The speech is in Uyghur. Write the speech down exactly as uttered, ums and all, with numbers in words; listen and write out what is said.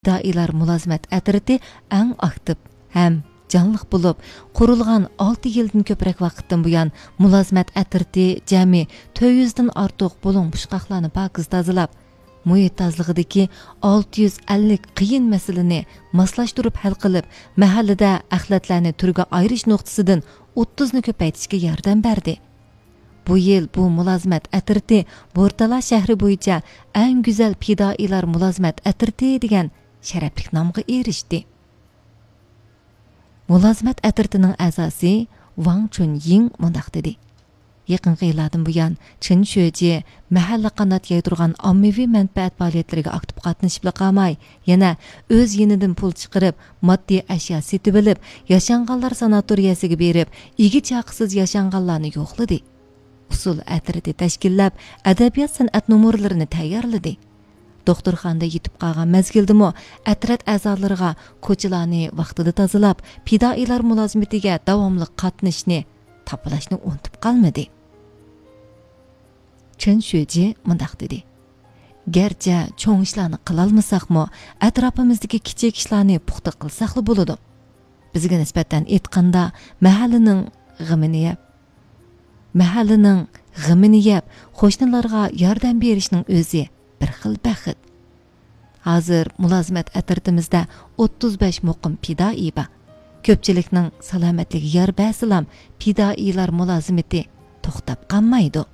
پىدائىيلار مۇلازىمەت ئەترىتى ئەڭ ئاكتىپ ھەم جانلىق بولۇپ، قۇرۇلغان ئالتە يىلدىن كۆپرەك ۋاقىتتىن بۇيان، مۇلازىمەت ئەترىتى جەمئىي تۆت يۈزدىن ئارتۇق بۇلۇڭ پۇچقاقلارنى پاكىز تازىلاپ، مۇھىت تازىلىقىدىكى ئالتە يۈز ئەللىك قىيىن مەسىلىنى ماسلاشتۇرۇپ ھەل قىلىپ، مەھەللىدە ئەخلەتلەرنى تۈرگە ئايرىش نۇقتىسىدىن ئوتتۇزنى كۆپەيتىشكە ياردەم بەردى. بۇ يىل بۇ مۇلازىمەت ئەترىتى بورتالا شەھىرى بويىچە ئەڭ گۈزەل پىدائىيلار مۇلازىمەت ئەترىتى دېگەن شەرەپلىك نامغا ئېرىشتى. مۇلازىمەت ئەترىتىنىڭ ئەزاسى ۋاڭ چۈن يىڭ مۇنداق دېدى: يېقىنقى يىللاردىن بۇيان، چېن شۆجى مەھەللە قانات يايدۇرغان ئاممىۋى مەنپەئەت پائالىيەتلىرىگە ئاكتىپ قاتنىشىپلا قالماي، يەنە ئۆز يېنىدىن پۇل چىقىرىپ، ماددىي ئەشيا سېتىۋېلىپ، ياشانغانلار ساناتورىيەسىگە بېرىپ، ئىگە چاقىسىز ياشانغانلارنى يوقلىدى. ئۇسسۇل ئەترىتى تەشكىللەپ، ئەدەبىيات-سەنئەت نومۇرلىرىنى تەييارلىدى. دوختۇرخانىدا يېتىپ قالغان مەزگىلدىمۇ ئەترەت ئەزالىرىغا كوچىلارنى ۋاقتىدا تازىلاپ، پىدائىيلار مۇلازىمىتىگە داۋاملىق قاتنىشىشنى تاپىلاشنى ئۇنتۇپ قالمىدى. چېن شۆجى مۇنداق دېدى: گەرچە چوڭ ئىشلارنى قىلالمىساقمۇ، ئەتراپىمىزدىكى كىچىك ئىشلارنى پۇختا قىلساقلا بولىدۇ. بىزگە نىسبەتەن ئېيتقاندا، مەھەللىنىڭ غېمىنى يەپ، مەھەللىنىڭ غېمىنى يەپ، قوشنىلارغا ياردەم بېرىشنىڭ ئۆزى بىر خىل بەخت. ھازىر مۇلازىمەت ئەترىتىمىزدە ئوتتۇز بەش مۇقىم پىدائىي بار. كۆپچىلىكنىڭ سالامەتلىكىگە يار بەرسىلام، پىدائىيلار مۇلازىمىتى توختاپ قالمايدۇ.